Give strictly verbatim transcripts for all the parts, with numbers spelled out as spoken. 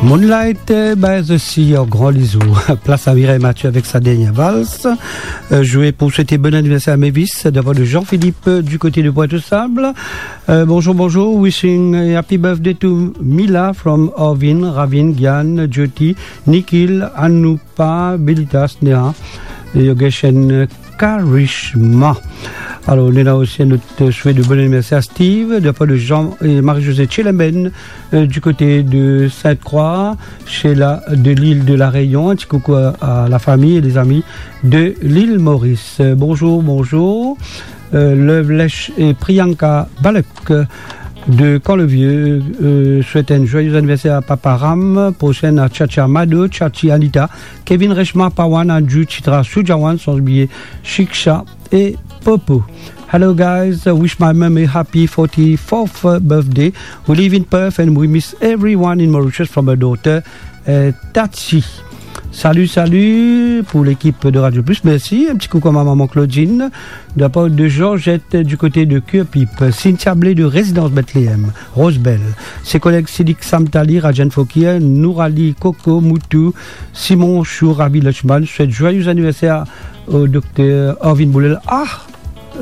Moonlight, euh, by the Sea, en grand lizo. Place à Mireille Mathieu avec sa dernière valse. Euh, je vais pour souhaiter bon anniversaire à Mavis, de la part de Jean-Philippe, euh, du côté de Pointe-aux-Sables. Euh, bonjour, bonjour. Wishing a happy birthday to Mila from Arvin, Ravin, Gian, Jyoti, Nikhil, Anupa, Belita, Sneha, et Yogesh and Karishma. Alors, on a aussi un autre souhait de bon anniversaire à Steve, de la part de Jean et Marie-Josée Tchelemen, euh, du côté de Sainte-Croix, Sheila de l'île de la Réunion. Un petit coucou à, à la famille et les amis de l'île Maurice. Euh, bonjour, bonjour. Euh, Lovelesh et Priyanka Balek, euh, de Camp-le-Vieux, euh, souhaite un joyeux anniversaire à Papa Ram, prochaine à Chacha Mado, Chachi Anita, Kevin Reshma, Pawan, Andrew, Chitra, Sujawan, sans oublier Shiksha et Popo. Hello guys, I wish my mum a happy forty-fourth birthday. We live in Perth and we miss everyone in Mauritius from her daughter, euh, Tachi. Salut, salut pour l'équipe de Radio Plus. Merci. Un petit coucou à ma maman Claudine, de la part de Georgette du côté de Curepipe. Cynthia Blé de Résidence Bethléem, Rosebelle. Ses collègues Sidik Samtali, Rajan Fokir, Nourali, Coco, Moutou, Simon Chou, Ravi Lachman. Souhaite joyeux anniversaire au docteur Arvin Boulel. Ah,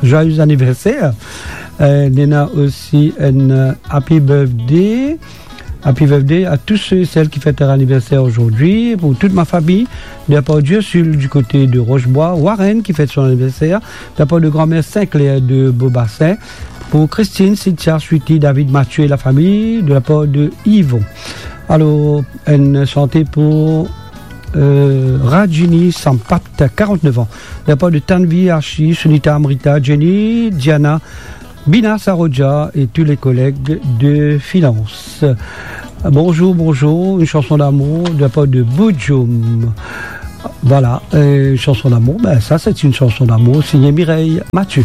joyeux anniversaire. Euh, Nena aussi un, euh, happy birthday. Happy birthday à tous ceux et celles qui fêtent leur anniversaire aujourd'hui. Pour toute ma famille, de la part d'Ursule du côté de Rochebois, Warren qui fête son anniversaire, de la part de grand-mère Sinclair de Beaubassin, pour Christine, Cynthia, Sweetie, David, Mathieu et la famille, de la part de Yvon. Alors, une santé pour, euh, Rajini Sampat, quarante-neuf ans. De la part de Tanvi, Archie, Sunita, Amrita, Jenny, Diana, Bina Saroja et tous les collègues de finance. Bonjour, bonjour, une chanson d'amour de la part de Boudjoum. Voilà, euh, une chanson d'amour, ben ça c'est une chanson d'amour signée Mireille Mathieu.